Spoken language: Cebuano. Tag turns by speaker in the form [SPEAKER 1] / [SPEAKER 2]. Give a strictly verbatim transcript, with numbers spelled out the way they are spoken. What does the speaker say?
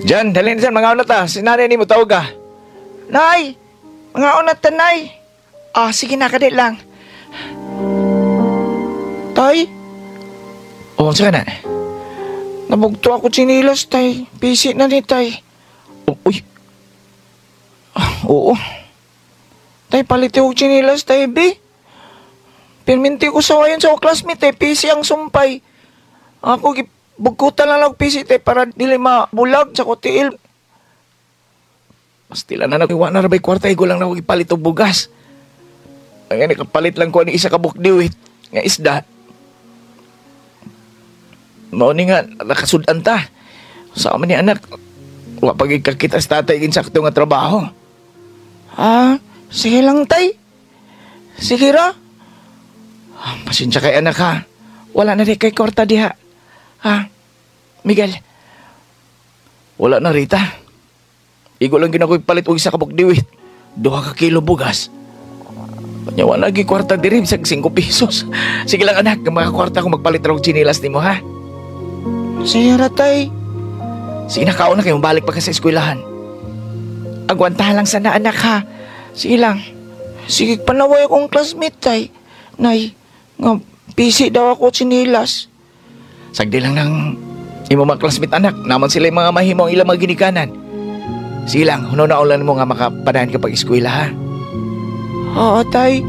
[SPEAKER 1] Jan, dali na dyan, mga na ta. Si nanay ni mo tawag ka.
[SPEAKER 2] Nay! Mga una ta, nay! Ah, sige na, kadit lang. Tay,
[SPEAKER 1] Oo, oh, na.
[SPEAKER 2] nabugto ako chinilas, tay. Busy na ni, tay.
[SPEAKER 1] Oh, uy. Ah, oo.
[SPEAKER 2] Tay, palit og chinilas, tay, be. Pirminti ko sa wayon sa akong classmate, eh. P C ang sumpay. Ako, bugkutan lang og P C, tay, para dili mabulag sa ko tiil.
[SPEAKER 1] Pastila na nagwa na rabay kwarta, igo lang na ako ipalit og bugas. Ang nakapalit lang ko ni isa ka bukdiwit nga isda. Mao ni nga nakasudan ta. Sa ni anak, wa pag kakita sa tatay ginsakto nga trabaho.
[SPEAKER 2] Ah, sige lang, tay. Sige ra.
[SPEAKER 1] Ah, pasensya kay anak ha.
[SPEAKER 2] Wala na rin kay kwarta diha. Ha? Miguel,
[SPEAKER 1] Wala na, Rita. Igo lang ginakoy palit og isa ka bukdiwit. Duha ka kilo bugas. Kanya wala lagi kwarta diri bisag singko pesos. Sige lang anak, mga kwarta ko magpalit ra og tsinilas nimo ha.
[SPEAKER 2] Sige ra, tay.
[SPEAKER 1] Sige na, kaon na kayo, balik pa ka sa eskwelahan.
[SPEAKER 2] Agwantahan lang sana anak ha. Sige lang. Sige, panaway akong classmate, tay. Nay, nga, busy daw ako chinilas.
[SPEAKER 1] Sagdi lang ng imo mga classmate anak, naman sila yung mga mahimo ang ilang mga ginikanan. Sige lang, huno na ulan mo nga makapanahan ka pag eskwela ha.
[SPEAKER 2] Oo, tay.